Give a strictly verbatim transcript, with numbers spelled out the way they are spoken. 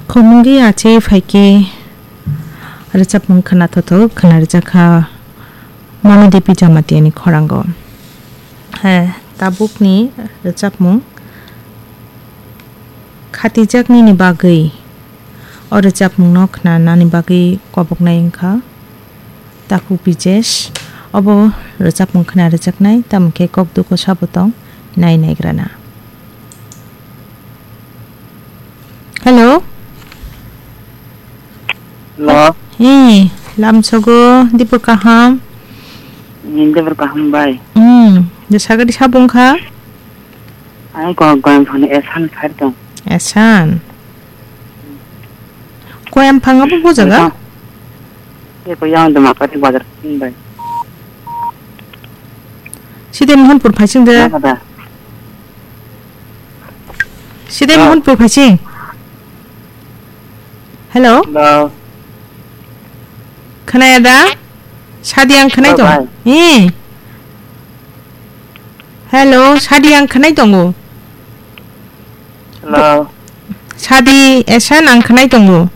Khomungwi achai phaikhe rwchapmung khwnathotho khwna rwjakha Manu Devi Jamatiani khorango. He, tabukni rwchapmung khatijak nini bagwi. O rwchapmungno khwnanani bagwi koboknai wngkha Taku Pijesh. Obo rwchapmung khwna rwjaknai, tamo khe kok duko sabo tong nai naigrana. Hello? Hello? Hi, lamsogo, dipor kaham? Ni dipor kaham bai. Hmm, de sagadi sabo wngkha? Ai ko goyam phano esan phai tong. Esan? Koyam phang abo bo jaga? Eko yang de mapati bazar sing bai. Side Mohanpur phaising de. Nang ada. Side Ah. Mohanpur phaising. Hello? Hello. Khwnaya da? Sadi ang khwnai Hello, tong. Bai. Eh. Hello, Sadi ang khwnai tongo. Hello. Sadi, esan ang khwnai tongo.